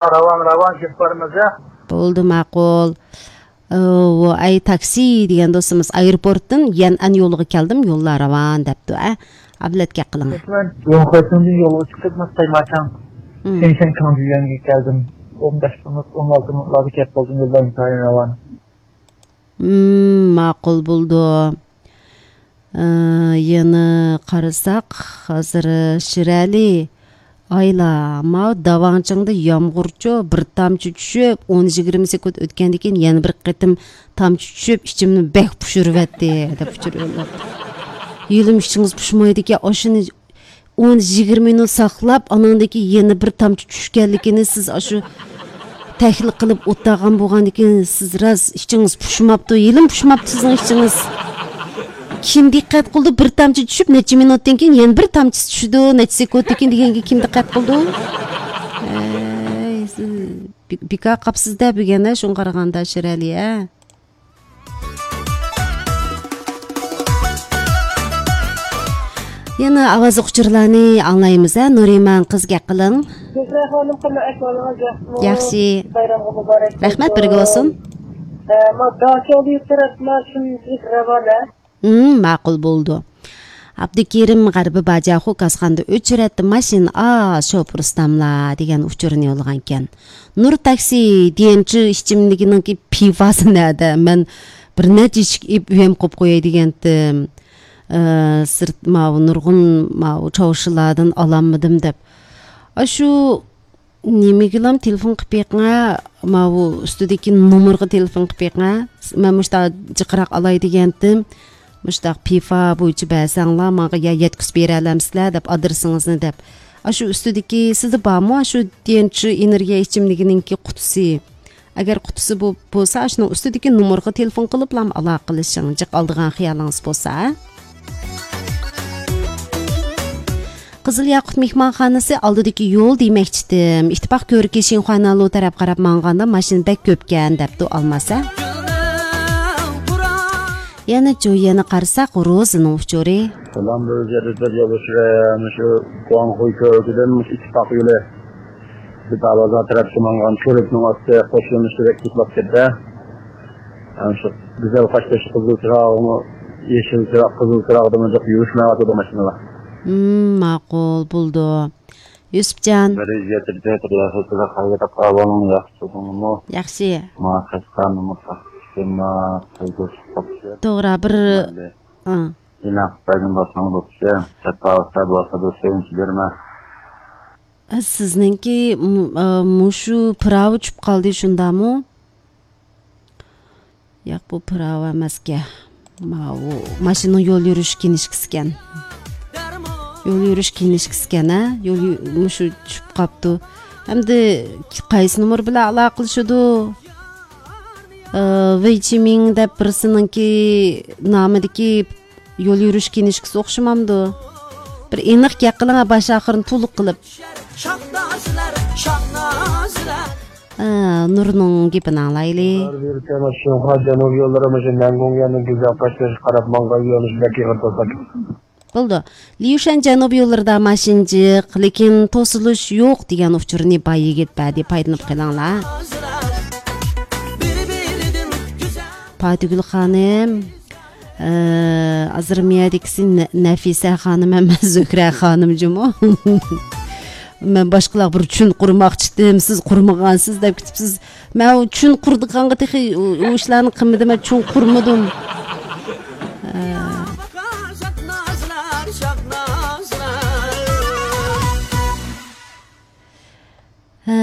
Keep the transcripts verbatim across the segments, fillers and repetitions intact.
راۋان، راۋان كېتىپ بارىمىز، ھە؟ بولدى، ماقۇل. ئۇ، ئەي، تاكسى دېگەن دوستىمىز ئايروپورتتىن يەنئەن يولىغا كەلدىم، يوللار راۋان دەپتۇ، ئە. ئابلەت گەپ قىلىڭ. مەن يوڭخېيتىڭدىن يولغا چىقىپ، ماي ماچاڭ، مم. شېنشەن كاڭجۈيۈەنگە كەلدىم. ئون بەش مىنۇت، ئون ئالتە مىنۇتلاردا كەپ بولدۇم، يولدا ئىنتايىن راۋان. مم، ماقۇل بولدى. ئى، يەنە قارىساق، ھازىر شىرئەلى، ئايلا، ماۋۇ داۋاڭچىڭدا يامغۇرچۇ بىر تامچە چۈشۈپ، ئون يىگىرمە سېكۇنت ئۆتكەندىن كېيىن يەنە بىر قېتىم تامچە چۈشۈپ، ئىچىمنى بەك پۇشۇرۇۋەتتى، دەپ ئۇچۇر يوللاپتۇ. يېلىم ئىچىڭىز پۇشمايدىكەن، ئاشۇنى ئون يىگىرمە مىنۇت ساقلاپ، ئاناندىن كېيىن يەنە بىر تامچە چۈشكەنلىكىنى سىز ئاشۇ تەھلىل قىلىپ ئولتۇرغان بولغاندىكىن، سىز راست ئىچىڭىز پۇشماپتۇ، ھېلىمۇ پۇشماپتۇ سىزنىڭ ئىچىڭىز. كىم دىققەت قىلىدۇ؟ بىر تامچە چۈشۈپ، نەچچە مىنۇتتىن كېيىن يەنە بىر تامچىسى چۈشىدۇ، نەچچە سېكۇنتتىن كېيىن دېگەنگە كىم دىققەت قىلىدۇ؟ ئەي، سىز بى-، بىكار قاپسىز-دە بۈگۈن، ھە، شۇڭا قارىغاندا شىرئەلى، ھە؟ يەنە ئاۋازلىق ئۇچۇرلارنى ئاڭلايمىز، ھە؟ نۇرىمان قىز، گەپ قىلىڭ. زۆھرە خانىم، قانداق ئەھۋالىڭىز، ياخشىمۇ؟ ياخشى. بايرامغا مۇبارەك بولسۇن. رەھمەت، بىرگە بولسۇن. ئە، ما داچاڭ دېگەن تەرەپ ما شۇنچىلىك راۋان، ھە؟ ھىم، ماقۇل بولدى. ئابدۇكېرىم غەربىي باجاخۇ كاسخانىدا ئۆچرەتتە ماشىنا ئاز، شوپۇر ئۇستاملار دېگەن ئۇچۇرنى يوللىغانىكەن. نۇر تاكسى، دىيەنچى ئىچىملىكىنىڭكى پىۋاسى نەدە؟ مەن بىر نەچچە ئىشىك ئېلىپ ئۆيەم قويۇپ قوياي دېگەنتىم. ئى، سىرت ماۋۇ نۇرغۇن ماۋۇ چاۋشىلاردىن ئالالمىدىم دەپ. ئاشۇ نېمىگىلام تېلېفون قىلىپ بېقىڭە، ماۋۇ ئۈستىدىكى نومۇرغا تېلېفون قىلىپ بېقىڭە. مەن مۇشۇنداق جىقراق ئالاي دېگەنتىم. مۇشۇنداق پىفا بويىچە بەرسەڭلار، ماڭا يا يەتكۈزۈپ بېرەلەمسىلەر دەپ، ئادرېسىڭىزنى دەپ. ئاشۇ ئۈستىدىكى سىزدە بارمۇ؟ ئاشۇ دىيەنچى ئېنېرگىيە ئىچىملىكىنىڭكى قۇتىسى. ئەگەر قۇتىسى بو-، بولسا، ئاشۇنىڭ ئۈستىدىكى نومۇرغا تېلېفون قىلىپلام ئالاقىلىشىڭ، جىق ئالىدىغان خىيالىڭىز بولسا. قىزىل ياقۇت مېھمانخانىسى ئالدىدىكى يول دېمەكچىدىم. ئىتتىپاق كۆۋرۈكى شىنخۇاينالۇ تەرەپ قاراپ ماڭغاندا ماشىنا بەك كۆپكەن، دەپتۇ ئالماس، ھە؟ يەنە جۇييەنى قارىساق، روزىنىڭ ئۇچۇرى. سالام، بىر جەدىدلەر يولدىشى، مۇشۇ گۇاڭخۇي كۆۋرۈكىدىن مۇشۇ ئىتتىپاق يولى. بىر بازار تەرەپكە ماڭغان كۆۋرۈكنىڭ ئاستى قوشۇلمىشى بەك تۇتۇلۇپ كەتتى. ئەنە شۇ گۈزەل قاشتېشى قىزىل چىراغىمۇ، يېشىل چىراغ، قىزىل چىراغدىمۇ جىق يۈرۈشمەيۋاتىدۇ ماشىنىلار. ھىم، ماقۇل، بولدى. يۈسۈپجان. بىر يۈز يەتتە، بىر يۈز يەتتە، ئەھۋالىڭ ياخشى تۇردۇڭمۇ؟ ياخشى. ما قەشقەرنىمۇ تاقىشتىما، قىلدۇرۇش تاپشى. توغرا، بىر، مەيلى. ئا. ئىناق بەرگەن بولساڭ بوپتۇ. سەپا ئۇستا بولسا بىر سۆيۈنچ بېرىمە. سىزنىڭكى، م-، ئا، مۇشۇ پىراۋى چۈشۈپ قالدى، شۇنداقمۇ؟ ياق، بۇ پىراۋا ئەمەسكەن. ماۋۇ ماشىنىنىڭ يول يۈرۈش كىنىشكىسىكەن. يول يۈرۈش كىنىشكىسىكەن، ھە؟ يول يۈ-، مۇشۇ چۈشۈپ قاپتۇ. ئەمدى قايسى نومۇر بىلەن ئالاقىلىشىدۇ؟ ئى، ۋېي چىمىڭ دەپ بىرسىنىڭكى نامىدىكى يول يۈرۈش كىنىشكىسى ئوخشىمامدۇ؟ بىر ئېنىق گەپ قىلىڭ، باش ئاخىرىنى تولۇق قىلىپ. شاھنازلار، شاھنازلار. ھە، نۇرنىڭ گېپىنى ئاڭلايلى. شىنخۇا جەنۇبىي يوللىرى مۇشۇ نەنگۇڭيەننىڭ گۈزەل قاشتېشىغا قاراپ ماڭغان يۆنىلىش بەك ئېغىر توساق. بولدى. ليۇشەن جەنۇبىي يوللىرىدا ماشىنا جىق، لېكىن توسۇلۇش يوق دېگەن ئۇچۇرنى باي يىگىت بەردى، پايدىلىنىپ قېلىڭلار. پاتىگۈل خانىم، ئە، ھازىر مۇيەردىكىسى نە-، نەفىسە خانىم ئەمەس، زۆھرە خانىم جۇمۇ. مەن باشقىلارغا بىر چۈن قۇرماقچىدىم، سىز قۇرمىغانسىز دەپ كېتىپسىز. مەن ئۇ چۈن قۇرىدىغانغا تېخى ئۇ، ئۇ ئىشلارنى قىلمىدىم، مەن چۈن قۇرمىدىم. ئە. ھە،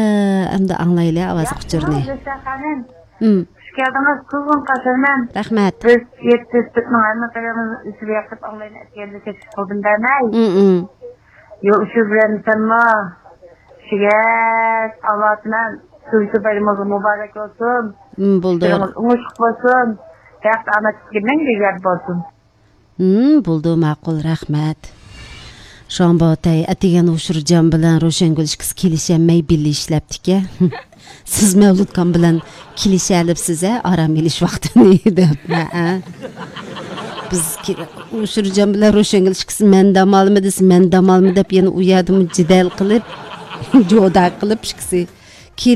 ئەمدى ئاڭلايلى ئاۋازلىق ئۇچۇرنى. ياخشىمۇ، زۆھرە خانىم؟ ھىم. خۇش كەلدىڭىز، قىزغىن قارشى ئالىمەن. رەھمەت. بىز يەتتە تۆتنىڭ ھەممە قېرىمىز ئۈستىگە ياقىپ ئاڭلايمەن، ئەتىگەندە كەچ قىلدىم دەمەي. ھىم، ھىم. يول ئۇچۇر بىلەن سەنمۇ. شىگەت ئاۋاتىمەن. تۇنجى بايرىمىڭىز مۇبارەك بولسۇن. ھىم، بولدى. ئىشلىرىڭىز ئوڭۇشلۇق بولسۇن. بەخت ئامەت سىزگە مەڭگۈ يار بولسۇن. ھىم، بولدى، ماقۇل، رەھمەت. شۇڭا بۇ ئەتىگەن ئۇشۇرجان بىلەن روشەنگۈل ئىككىسى كېلىشەلمەي بىللە ئىشلەپتىكەن. سىز مەۋلۇتكام بىلەن كېلىشەلىپسىز ھە، ئارام ئېلىش ۋاقتىنى دەپ. ھەئە. بىز كې-، ئۇشۇرجان بىلەن روشەنگۈل ئىككىسى مەن دام ئالىمەن دېسە، مەن دام ئالىمەن دەپ يەنە ئۇ يەردىمۇ جېدەل قىلىپ، جودا قىلىپ ئىككىسى.